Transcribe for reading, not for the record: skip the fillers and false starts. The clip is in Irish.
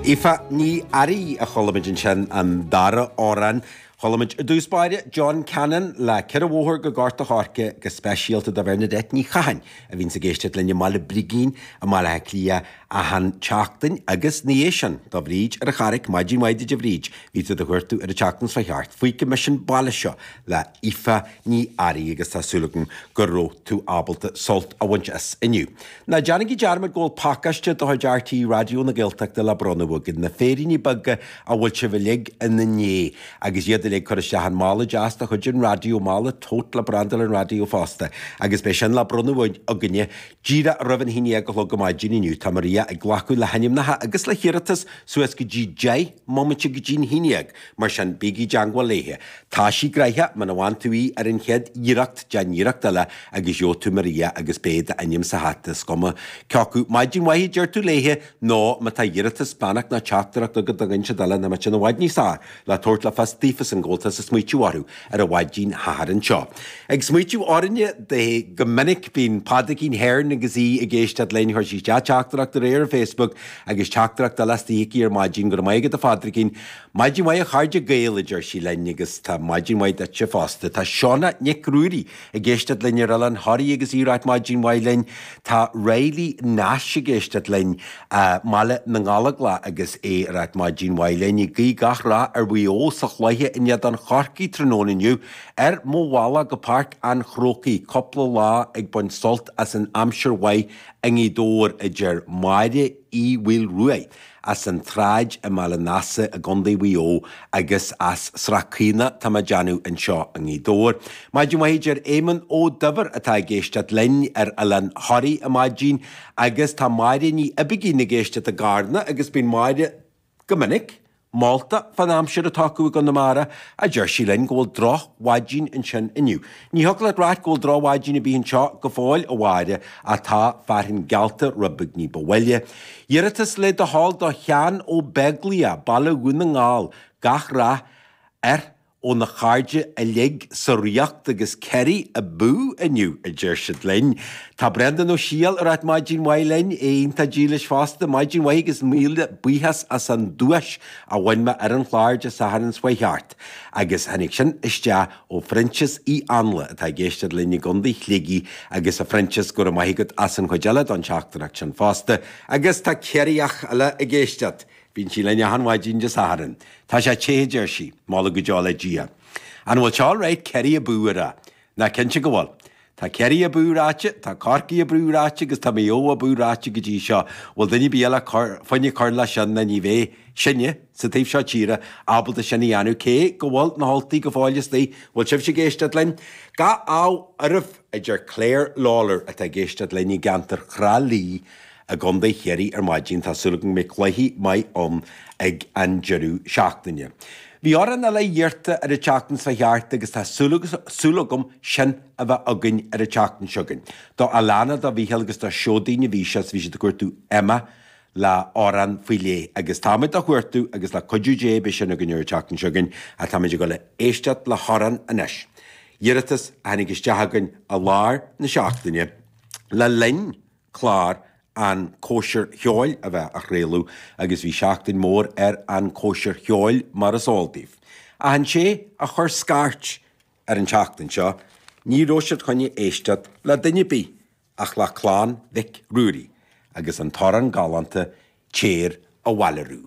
Aoife Ní Fhearraigh a chuala muid ansin an dara amhrán. Chuala muid i dtús báire John Cannon le 'Ceithre Bhóthar go Gort a' Choirce' go speisialta do Bhernadette Ní Chatháin a bhíonns ag éisteacht linn i mBaile Brigín i mBaile Átha Cliath achan tseachtain agus ina dhiaidh sin do Bhríd ar an Charraic, maidin mhaith duit a Bhríd, bhí tú do chuartú ar an tseachtain seo thart 'Fuígfidh mise an baile seo' le Aoife Ní Fhearraigh agus tá súil agam go raibh tú ábalta sult a bhaint as inniu. Ná déanaigí dearmad go bhfuil pacáiste de chuid RTÉ Raidió na Gaeltachta le bronnadh againn, na féiríní beaga a bhfuil sibh uilig ina ndiaidh agus iad uilig curtha isteach i mála deas de chuid an raidió, mála tote le brandáil an raidió fosta, agus beidh sin le bronnadh againne díreach roimh an haon dhéag a chlog ar maidin inniu. Tá Maria ag glacadh le hainmneacha agus le hiarratais suas go dtí 10 mbomaite go dtí'n haon dhéag, mar sin bígí i dteangmháil léithe. Tá sí gnoitheach, muna bhfaigheann tú í ar an chéad iarracht, déan iarracht eile agus gheobhaidh tú Maria agus beidh d'ainm sa hata, is cuma cé acu maidin mhaith a deir tú léithe nó má tá iarratas, beannacht nó teachtaireacht agat do dhuine inteacht eile nó má tá sin i bhfad níos fearr le tabhairt le fios daofasan go bhfuil tusa ag smaoitiú orthu ar an mhaidin Shathairn seo. Ag smaoitiú orainne di go minic bíonn Pádraigín Hearne agus í ag éisteacht linn, chuir sí isteach teachtaireacht aréir ar Facebook agus teachtaireacht eile istigh aici ar maidin, go raibh maith agat a Phádraigín. Maidin mhaith a chairde Gael a deir sí linn agus tá maidin mhaith duitse fosta. Tá Shauna Nic Ruairí ag éisteacht linn ar Oileán Thoraí agus í ag ráit maidin mhaith linn. Tá Riley Nash ag éisteacht linn i mBaile na nGallóglach agus é ag ráit maidin mhaith linn. Ag guí gach rath ar Mhaigh Eo sa chluiche in éadan Chorcaí tráthnóna inniu. Ar mo bhealach go Páirc an Chrócaigh, cúpla lá ag baint sult as an aimsir mhaith i nGaoth Dobhair, a deir Máire Uí Mhaoilruaidh. as an tSráid i mBaile an Easa i gContae Mhaigh Eo agus as Srath Caonach tá mé ag déanamh anseo i nGaoth Dobhair. Maidin mhaith a deir Éamonn Ó Duibhir atá ag éisteacht linn ar Oileán Thoraí ar maidin agus tá Máire Ní Oibigín ag éisteacht i gCarna agus bíonn Máire go minic molta fán aimsir atá acu i gConamara, a deir sí linn go bhfuil droch-mhaidin ansin inniu. Ní thiocfadh leat ráit go bhfuil droch-mhaidin ar bith anseo go fóill, a Mháire, ach tá fearthainn geallta rud beag ní ba mhoille. Iarratas le do thoil do Sheán Ó Beaglaoich, Baile Dhún na nGall, gach rath air óna chairde uilig sa Ríocht agus Kerry abú inniu, a deir siad linn. Tá Breandán Ó Siadhail ag ráit maidin mhaith linn, é iontach dílis fosta. Maidin mhaith agus míle buíochas as an duais a bhain mé ar an chlár Dé Sathairn seo chuaigh thart. Agus tháinig sin isteach ó Phroinsias Uí Anluain atá ag éisteacht linn i gContae Shligigh agus a Phroinsias go raibh maith agat as an chuid eile don teachtaireacht sin fosta. Agus tá Ciarraíoch eile ag éisteacht. Bíonn sí linn achan mhaidin Dé Sathairn. Tá sé te, a deir sí. Moladh go deo le Dia. An bhfuil sé alright Kerry abú a rá? Ná cinnte go bhfuil. Tá Kerry abú ráite, tá Corcaigh abú ráite agus tá Maigh Eo abú ráite go dtí seo. Bhfuil duine ar bith eile fá choinne cur leis sin ná ní bheidh sinne, sa taobh seo tíre, ábalta sin a dhéanamh cé go bhfuil na hUltaigh go fóill istigh. Bhfuil sibhse ag éisteacht linn? Gach ádh oraibh, a deir Claire Lawlor atá ag éisteacht linn i gceantar Thrá Lí i gContae Chiarraí ar maidin. Tá súil agam go mbeidh cluiche maith ann ag an deireadh seachtaine. Bhí amhrán eile iarrta ar an tseachtain seo thart agus tá súil agam sin a bheith againn ar an tseachtain seo chugainn. Do Alana, do Mhícheál agus do Sheoidín a bhí sé is bhí siad ag cuartú Emma le amhrán faoi leith agus táimid á chuartú agus le cuidiú Dé beidh sin againn ar an tseachtain seo chugainn ach táimid ag dul a éisteacht le hamhrán anois. Iarratas a tháinig isteach againn i lár na seachtaine le linn clár An Chóisir Cheoil a bheith á chraoladh agus bhí seachtain mhór ar An Chóisir Cheoil mar is eol daoibh. Ach an té a chuir scairt ar an tseachtain seo, ní raibh siad chun éisteacht le duine ar bith ach le Clann Mhic Ruairí agus an t-amhrán galánta Téir Abhaile Rú.